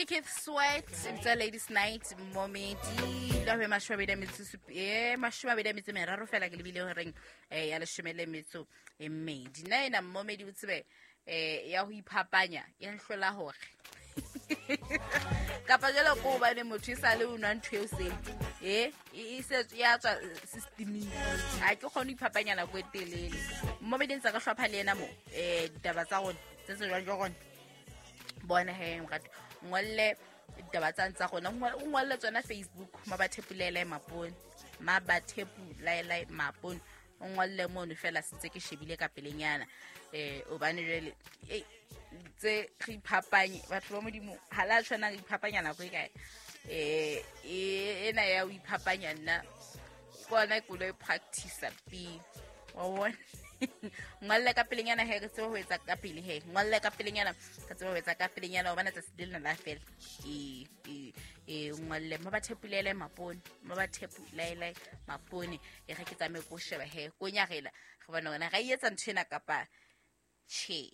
Ke Keith Sweat, tsa Ladies Night, momedi la ho 23 fela ke lebile horeng ya 12. Nna ena momedi o tsebe ya ho iphapanya ya nhlola hore kapa jalo ko hobane motho e sale o nwa ntho eo seng e se ya tswa systeming, ha ke kgone ho iphapanya nako e telele. Momedi ntse ka hlopha le yena mo ditaba tsa rona tse tsejwang ke rona. Bona he morato, ngolle ditaba tsa tsa rona, o ngolle tsona Facebook, Mabathepulele Mapone, Mabathepulele Mapone, o ngolle mono fela sentse ke shebile ka pelenyana. Obane jwale tse re iphapanye batho ba Modimo ha la tshwana re iphapanya nako e kae. Ena ya ho iphapanya nna ke ona ke lo e practice pele wa bona. Ngolle ka pelenyana he re tsebe ho etsa ka pele, he ngolle ka pelenyana re tsebe ho etsa ka pelenyana, hobane tsatsi le lena la fela. Ngolle Mabathepulele Mapone, Mabathepulele Mapone, e re ke tsamaye ko sheba he ko nyarela re bona hore na ra e etsa ntho ena kapa tjhe.